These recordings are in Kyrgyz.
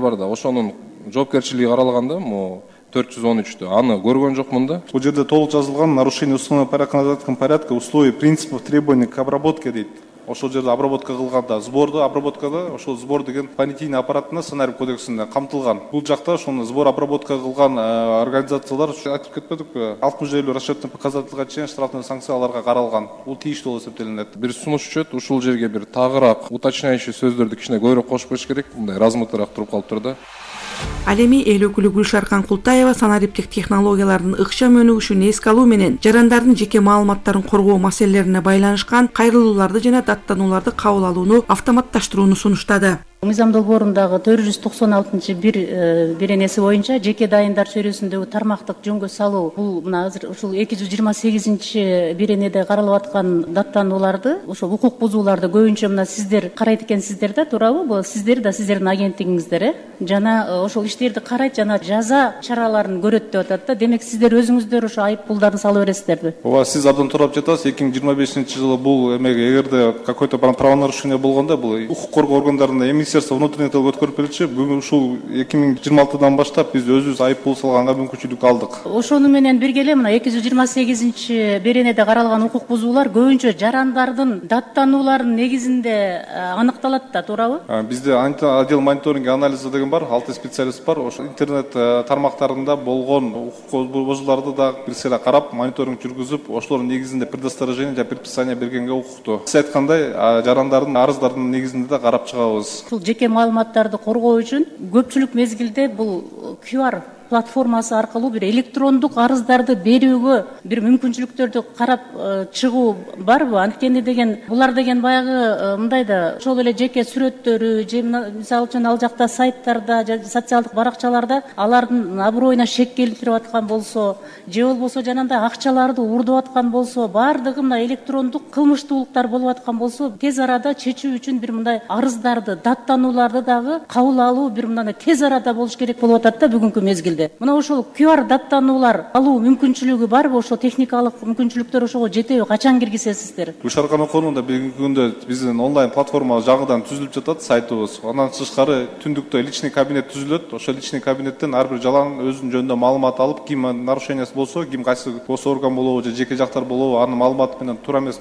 бар да, ошонун жоопкерчилиги каралганда, могу 413-тө. Аны көргөн жокмун да. Бул жерде толук жазылган нарушение установленного порядка, условий, принципов, требований к обработке дейт. Ошол жерде обработка кылганда, сборду обработкада, ошол сбор деген понятийный аппаратына сценарий кодексинде камтылган. Бул жакта ошону сбор обработка кылган организациялар айтып кетпедикпи? 60 расчетный показательга чейин штрафный санкцияларга каралган. Бул тийиштүү болуп эсептелинет. Бир сунуш өчөт, ушул жерге бир тагыраак уточняющий сөздөрдү кичине көбүрөөк кошуп коюш керек. Мындай размытыраак туруп калыптыр да. Ал эми эл өкүлү Гүлшаркан Култаева санариптик технологиялардын ыкчам өнүгүшүн эске алуу менен жарандардын жеке маалыматтарын коргоо маселелерине байланышкан кайрылууларды жана даттанууларды кабыл алууну автоматташтырууну сунуштады. Мыйзам долбоорундагы 496 беренеси боюнча жеке дайындар чөйрөсүндөгү тармактык жөнгө салуу бул мына азыр ушул 228 беренеде каралып аткан даттанууларды, ошо укук бузууларды көбүнчө мына сиздер карайт экенсиздер да, туурабы? Бул сиздер да сиздердин агенттигиңиздер, жана ошол иштерди карайт жана жаза чараларын көрөт деп атат да. Демек сиздер өзүңүздөр ошо айып пулдарды салып бересиздерби? Ооба, сиз абдан туура жатасыз. 2025-жылы бул эмеге эгерде какой-то правонарушение болгондо бул укук коргоо органдарында Министерство внутренних дел өткөрүп берчү. Бүгүн ушул 2026-дан баштап биз өзүбүз айып пул салганга мүмкүнчүлүк алдык. Ошону менен бирге эле мына 228 беренеде каралган укук бузуулар көбүнчө жарандардын даттанууларынын негизинде аныкталат да, туурабы? Бизде отдел мониторинг анализа деген бар, 6 специалист бар. Ошо интернет тармактарында болгон укук бузууларды да бир сыйра карап, мониторинг жүргүзүп, ошолордун негизинде предосторожение жана предписание бергенге укуктуу. Сиз айткандай, жарандардын арыздардын негизинде да карап чыгабыз. Жеке маалыматтарды коргоо үчүн көпчүлүк мезгилде бул QR платформасы аркылуу бир электрондук арыздарды берүүгө бир мүмкүнчүлүктөрдү карап чыгуу барбы? Анткени деген булар деген баягы мындай да, ошол эле жеке сүрөттөрү же мисалы үчүн ал жакта сайттарда же социалдык баракчаларда алардын аброюна шек келтирип аткан болсо, же болбосо жанагындай акчаларды уурдап аткан болсо, баардыгы мына электрондук кылмыштуулуктар болуп аткан болсо, тез арада чечүү үчүн бир мындай арыздарды, даттанууларды дагы кабыл алуу бир мындай тез арада болуш керек болуп атат да бүгүнкү мезгилде. Мына ошол QR даттануулар алуу мүмкүнчүлүгү барбы? Ошо техникалык мүмкүнчүлүктөр ошого жетеби? Качан киргизесиздер? Гүлшаркан окуунда бүгүнкү күндө биздин онлайн платформа жаңыдан түзүлүп жатат, сайтыбыз. Андан тышкары түндүктө личный кабинет түзүлөт. Ошол личный кабинеттен ар бир жалаң өзүнүн жөнүндө маалымат алып, ким нарушениясы болсо, ким кайсы орган болобу же жеке жактар болобу, анын маалыматы менен туура эмес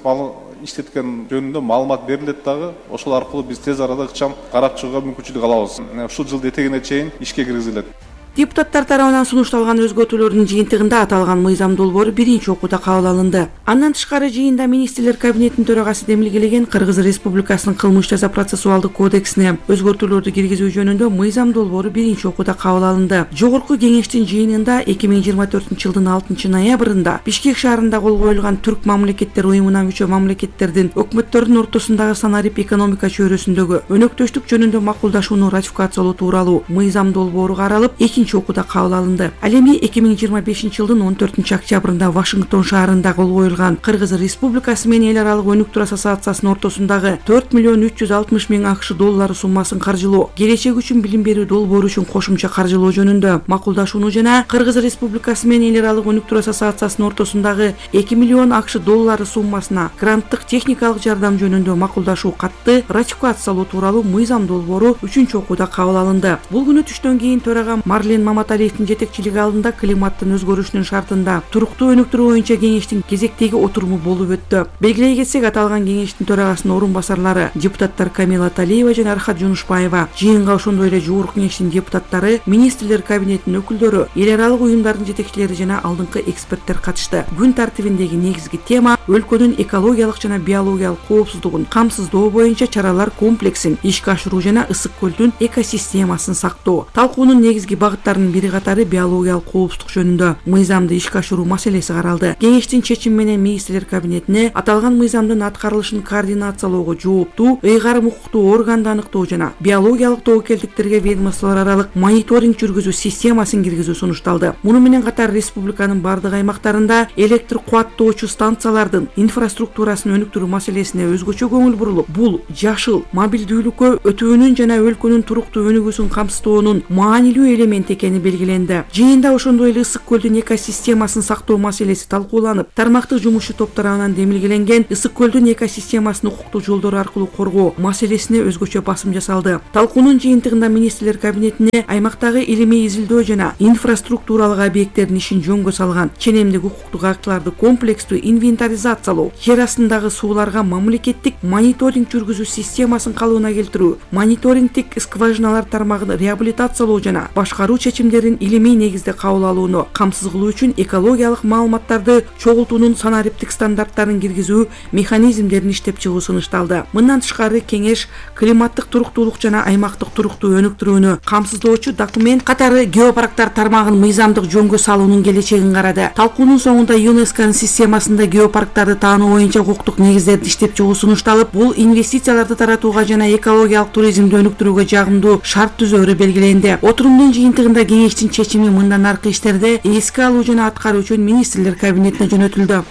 иштеткен жөнүндө маалымат берилет дагы. Ошол аркылуу биз тез арада ыкчам карап чыгууга мүмкүнчүлүк алабыз. Ушул жылдын этегине чейин ишке киргизилет. Депутаттар тарабынан сунушталган өзгөртүүлөрдүн жыйынтыгында аталган мыйзам долбоору биринчи окууда кабыл алынды. Андан тышкары жыйында министрлер кабинетинин төрагасы демилгелеген Кыргыз Республикасынын кылмыш жаза процессуалдык кодексине өзгөртүүлөрдү киргизүү жөнүндө мыйзам долбоору биринчи окууда кабыл алынды. Жогорку кеңештин жыйынында 2024-жылдын 6-ноябрында Бишкек шаарында кол коюлган Түрк мамлекеттер уюмуна мүчө мамлекеттердин өкмөттөрүнүн ортосундагы санарип экономика чөйрөсүндөгү өнөктөштүк жөнүндө макулдашууну ратификациялоо тууралуу мыйзам долбоору каралып, окууда кабыл алынды. Ал эми 2025-жылдын 14-октябрында Вашингтон шаарында кол коюлган Кыргыз Республикасы менен эл аралык өнүктүр ассоциациясынын ортосундагы 4.360.000 АКШ доллары суммасын каржылоо, келечек үчүн билим берүү долбоору үчүн кошумча каржылоо жөнүндө макулдашууну жана Кыргыз Республикасы менен эл аралык өнүктүр ассоциациясынын ортосундагы 2 миллион АКШ доллары суммасына гранттык техникалык жардам жөнүндө макулдашуу катты ратификациялоо тууралуу мыйзам долбоору 3-окууда кабыл алынды. Бул күнү түштөн кийин төрага Марлен Маматалиевдин жетекчилиги алдында климаттын өзгөрүшүнүн шартында туруктуу өнүктүрүү боюнча кеңештин кезектеги отуруму болуп өттү. Белгилей кетсек, аталган кеңештин төрагасынын орун басарлары депутаттар Камила Талиева жана Архат Жунушбаева, жыйынга ошондой эле жогорку кеңештин депутаттары, министрлер кабинетинин өкүлдөрү, эл аралык уюмдардын жетекчилери жана алдыңкы эксперттер катышты. Күн тартибиндеги негизги тема өлкөнүн экологиялык жана биологиялык коопсуздугун камсыздоо боюнча чаралар комплексин ишке ашыруу жана Ысык көлдүн экосистемасын сактоо. Талкуунун негизги багыттарынын бири катары биологиялык коопсуздук жөнүндө мыйзамды ишке ашыруу маселеси каралды. Кеңештин чечими менен министрлер кабинетине аталган мыйзамдын аткарылышын координациялоого жооптуу ыйгарым укуктуу органды аныктоо жана биологиялык тобокелдиктерге ведомстволор аралык мониторинг жүргүзүү системасын киргизүү сунушталды. Муну менен катар республиканын бардык аймактарында электр кубаттоочу станциялардын инфраструктурасын өнүктүрүү маселесине өзгөчө көңүл бурулуп, бул жашыл мобилдүүлүккө өтүүнүн жана өлкөнүн туруктуу өнүгүүсүн камсыздоонун маанилүү элементи экени белгиленди. Жыйында ошондой эле Ысык көлдүн экосистемасын сактоо маселеси талкууланып, тармактык жумушчу топ тарабынан демилгеленген Ысык көлдүн экосистемасын укуктуу жолдор аркылуу коргоо маселесине өзгөчө басым жасалды. Талкуунун жыйынтыгында министрлер кабинетине аймактагы илимий изилдөө жана инфраструктуралык объекттердин ишин жөнгө салган ченемдик укуктук актыларды комплекстүү инвентаризациялоо, жер астындагы сууларга мамлекеттик мониторинг жүргүзүү системасын калыбына келтирүү, мониторингтик скважиналар тармагын реабилитациялоо жана башкаруу чечимдерин илимий негизде кабыл алууну камсыз кылуу үчүн экологиялык маалыматтарды чогултуунун санариптик стандарттарын киргизүү механизмдерин иштеп чыгуу сунушталды. Мындан тышкары кеңеш климаттык туруктуулук жана аймактык туруктуу өнүктүрүүнү камсыздоочу документ катары геопарктар тармагын мыйзамдык жөнгө салуунун келечегин карады. Талкуунун соңунда ЮНЕСКОнун системасында геопарктарды таануу боюнча укуктук негиздерди иштеп чыгуу сунушталып, бул инвестицияларды таратууга жана экологиялык туризмди өнүктүрүүгө жагымдуу шарт түзөөрү белгиленди. Отурумдун жыйынтыгында кеңештин чечими мындан аркы иштерди эске алуу жана аткаруу үчүн министрлер кабинетине жөнөтүлдү.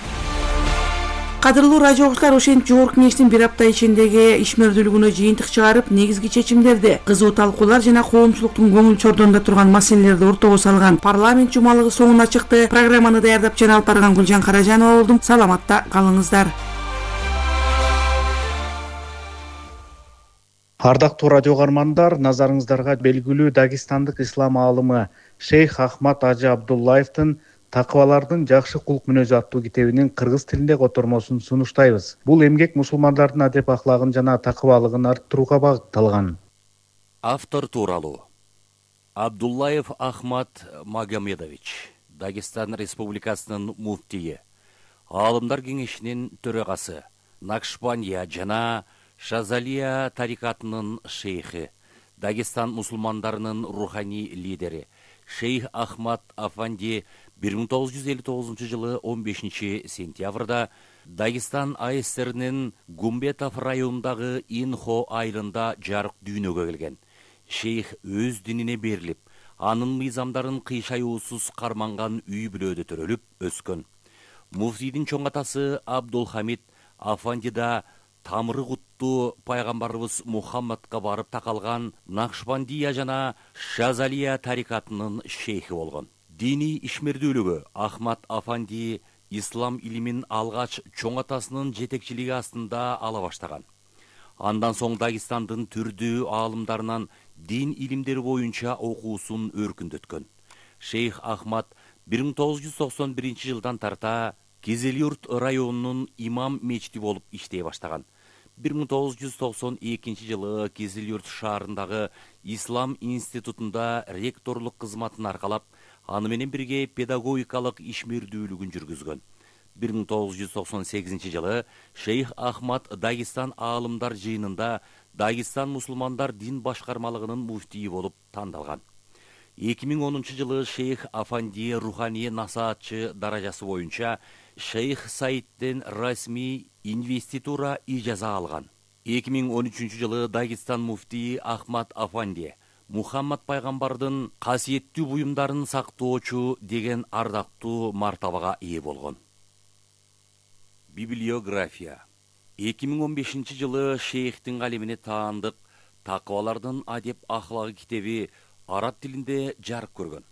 Кадырлуу радио окуучулар, ошентип жогорку кеңештин бир апта ичиндеги ишмердүүлүгүнө жыйынтык чыгарып, негизги чечимдерди, кызуу талкуулар жана коомчулуктун көңүл чордонунда турган маселелерди ортого салган парламент жумалыгы соңуна чыкты. Программаны даярдап жана алып барган Гүлжан Каражанова болдум. Саламатта калыңыздар. Ардактуу радио каармандар, назарыңыздарга белгилүү Дагестандык ислам аалымы Шейх Ахмад Ажы Абдуллаевдин Такыбалардын жакшы кулк мүнөзү аттуу китебинин кыргыз тилинде котормосун сунуштайбыз. Бул эмгек мусулмандардын адеп ахлагын жана такыбалыгын арттырууга багытталган. Автор тууралуу: Абдуллаев Ахмад Магомедович, Дагестан Республикасынын муфтийи, Аалымдар кеңешинин төрагасы, Накшбандия жана Шазалия тарикатынын шейхи, Дагестан мусулмандарынын руханий лидери Шейх Ахмад Афанди 1959 жылы 15 сентябрда Дагестан АСРнин Гумбетов районундагы Инхо айылында жарык дүйнөгө келген. Шейх өз динине берилип, анын мыйзамдарын кыйшаюусуз карманган үй бүлөдө төрөлүп өскөн. Муфтийдин чоң атасы Абдулхамид Афандида тамыры куттуу пайгамбарыбыз Мухаммадка барып такалган Накшбандия жана Шазалия тарикатынын шейхи болгон. Диний ишмердүүлүгү Ахмад Афанди ислам илимин алгач чоң атасынын жетекчилиги астында ала баштаган. Андан соң Дагестандын түрдүү аалымдарынан дин илимдери боюнча окуусун өркүндөткөн. Шейх Ахмад 1991 жылдан тарта Кизилюрт районунун имам мечити болуп иштей баштаган. 1992 жылы Кизилюрт шаарындагы Ислам институтунда ректорлук кызматын аркалап, аны менен бирге педагогикалык ишмердүүлүгүн жүргүзгөн. 1998 жылы Шейх Ахмад Дагестан аалымдар жыйынында Дагестан мусулмандар дин башкармалыгынын муфтийи болуп тандалган. 2010 жылы Шейх Афанди руханий насаатчы даражасы боюнча Шейх Саидден расмий инвеститура ижаза алган. 2013 жылы Дагестан муфтийи Ахмад Афанди Мухаммад пайгамбардын касиеттүү буюмдарын сактоочу деген ардактуу мартабага ээ болгон. Библиография. 2015 жылы шейхтин калемине таандык Такыбалардын адеп ахлагы китеби араб тилинде жарык көргөн.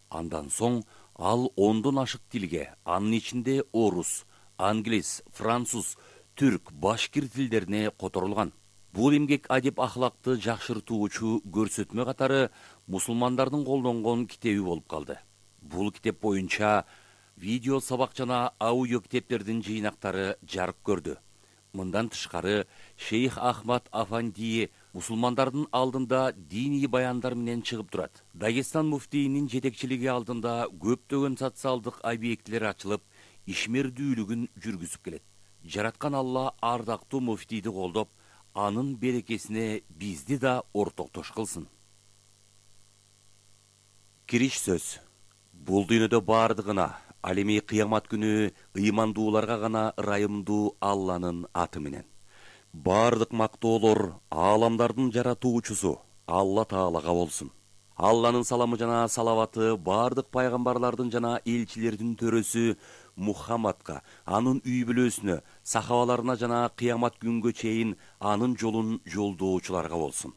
Андан соң ал 10дон ашык тилге, анын ичинде орус, англис, француз, түрк, башкир тилдерине которулган. Бул эмгек адеп ахлакты жакшыртуучу көрсөтмө катары мусулмандардын колдонгон китеби болуп калды. Бул китеп боюнча видео сабак жана аудио китептердин жыйнактары жарык көрдү. Мындан тышкары Шейх Ахмад Афанди мусулмандардын алдында диний баяндар менен чыгып турат. Дагестан муфтийинин жетекчилиги алдында көптөгөн социалдык объектилер ачылып, ишмердүүлүгүн жүргүзүп келет. Жараткан Алла ардактуу муфтийди колдоп, анын берекесине бизди да ортоктош кылсын. Кириш сөз. Бул дүйнөдө бардыгына, ал эми кыямат күнү ыймандууларга гана ырайымдуу Алланын аты менен. Бардык мактоолор ааламдардын жаратуучусу Алла Таалага болсун. Алланын саламы жана салаваты бардык пайгамбарлардын жана элчилердин төрөсү Мухаммадка, анын үй бүлөсүнө, сахабаларына жана кыямат күнгө чейин анын жолун жолдоочуларга болсун.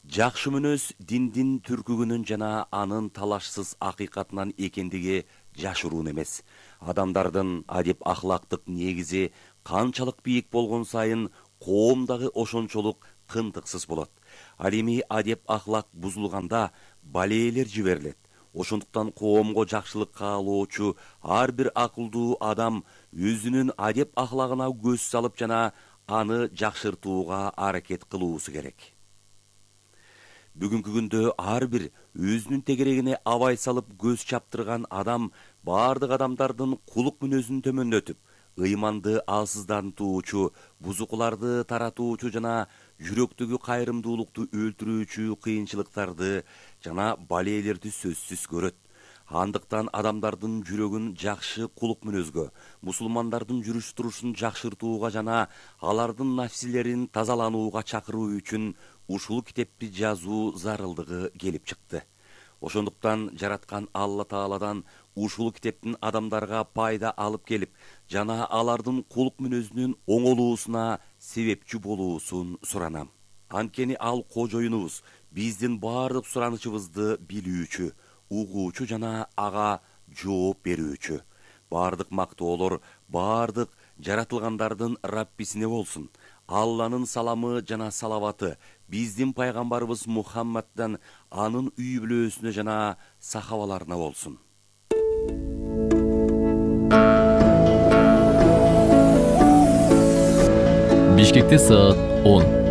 Жакшы мүнөз диндин түркүгүнүн жана анын талашсыз акыйкатынан экендиги жашыруун эмес. Адамдардын адеп ахлактык негизи канчалык бийик болгон сайын коом дагы ошончолук тынтыксыз болот. Ал эми адеп ахлак бузулганда балээлер жиберилет. Ошондуктан коомго жакшылык каалоочу ар бир акылдуу адам өзүнүн адеп ахлагына көз салып жана аны жакшыртууга аракет кылуусу керек. Бүгүнкү күндө ар бир өзүнүн тегерегине абай салып көз чаптырган адам бардык адамдардын кулук мүнөзүн төмөндөтүп, ыйманды алсыздантуучу, бузукуларды таратуучу жана жүрөктөгү кайрымдуулукту өлтүрүүчү кыйынчылыктарды жана балээлерди сөзсүз көрөт. Андыктан адамдардын жүрөгүн жакшы кулук мүнөзгө, мусулмандардын жүрүш турушун жакшыртууга жана алардын нафсилерин тазаланууга чакыруу үчүн ушул китепти жазуу зарылдыгы келип чыкты. Ошондуктан жараткан Алла Тааладан ушул китептин адамдарга пайда алып келип, жана алардын кулук мүнөзүнүн оңолуусуна себепчи болуусун суранам. Анткени ал кожоюнубуз биздин бардык суранычыбызды билүүчү, угуучу жана ага жооп берүүчү. Бардык мактоолор бардык жаратылгандардын Раббисине болсун. Алланын саламы жана салаваты биздин пайгамбарыбыз Мухаммаддан, анын үй бүлөсүнө жана сахабаларына болсун. Бишкекте саат 10.